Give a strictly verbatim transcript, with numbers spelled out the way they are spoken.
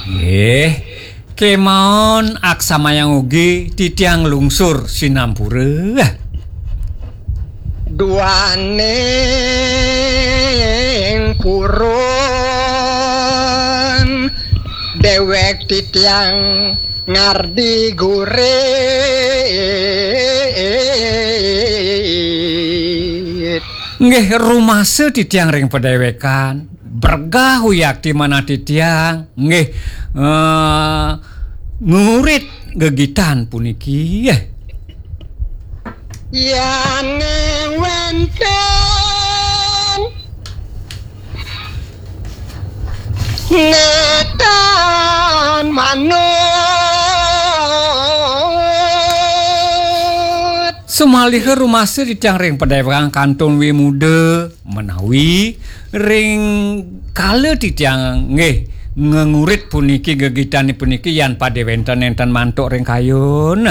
Nggih, kemawon aksamayang ugi titiang lungsur sinampura. Duaning purun dewek titiang ngardi gurit. Nggih, rumasa titiang ring padewekan, bergah uyakti manah titiang, nggih, eh, ngurit gegitan puniki. Yan wenten netan manut. Sumaliha rumasa titiang ring padewekan kantun wimuda menawi ring kala titiang nggih ngengurit puniki gegitane puniki yan pade wenten nenten mantuk ring kayun.